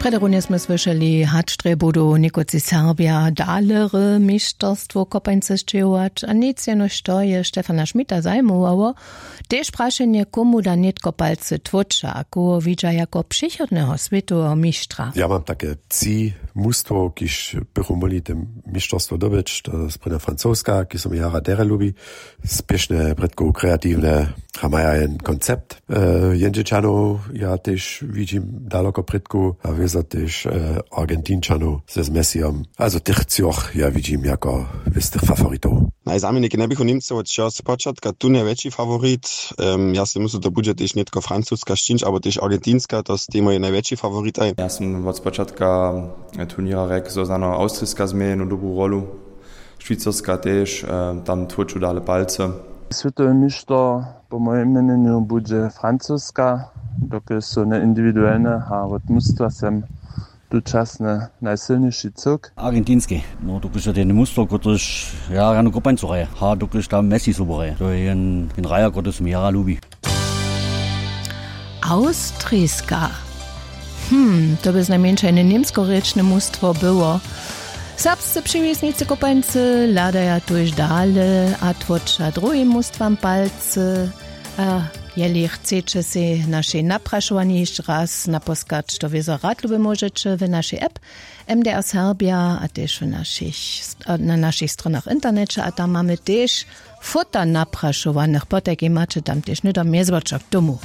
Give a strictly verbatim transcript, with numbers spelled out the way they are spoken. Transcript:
Prjedy runje smy słyšeli, hač drje budu někotři Serbja dale re mišterstwo kopańce sćěhować, a nic jenož to je Štefana Šmita zajmowało. Tež prašenje, komu da nětko palcy tłóča a koho widźa jako přichodneho swětoweho mištra. Ja mam take tři mustwo, kiž bychu móhli te mišterstwo dobyć. To je sprěnja Francoska, kiž so mi jara derje lubi, spěšne prědkow, kreatiwne, a maja jen koncept. Jendźelčanow ja tež widźim daloko prědkow, a wězo tež Argentinčanow ze z Messijom. Azo tych třoch ja widźim jako wěstych favoritow. Najzamjeniki njebychu Němcy wot wšeho spočatka tu najwjetši favorit. Ja sej myslu, to budźe tež nětko Francuska sćińć abo tež Argentinska, to stej mój najwjetši favoritaj. Ja sym wot spočatka turněra rjekł, zo znano Awstriska změje jednu dobru rolu. Šwicarska tež, tam tłóču dale palcy. Swětowy mišter po mojim měnjenju budźe Francuska, dokelž su njeindiwiduelne a wot mustwa sem tučasnje najsylniši cyłk. Argentinski, no dokelž je ten mustwo, kotryž ja rjanu kopańcu hraje, a dokelž tam Messi sobu hraje, to je jen jen hraja, kotryž mi jara lubi. Awstriska. Hm, to by znajmjeńša jene němskorěčne mustwo było. Serbsce přiwisnicy kopańcy hladaja tuž dale a tłóča druhim mustwam palcy. A jeli chceće sej našej naprašowanjej hišće raz naposkać, to wězo rad lube móžeće w našej app, mdr serbja, a tež w našich na našich stronach w interneće, a tam mamy tež fota naprašowanych, potajkej maće tam tež hnydom mjezwočer k tomu.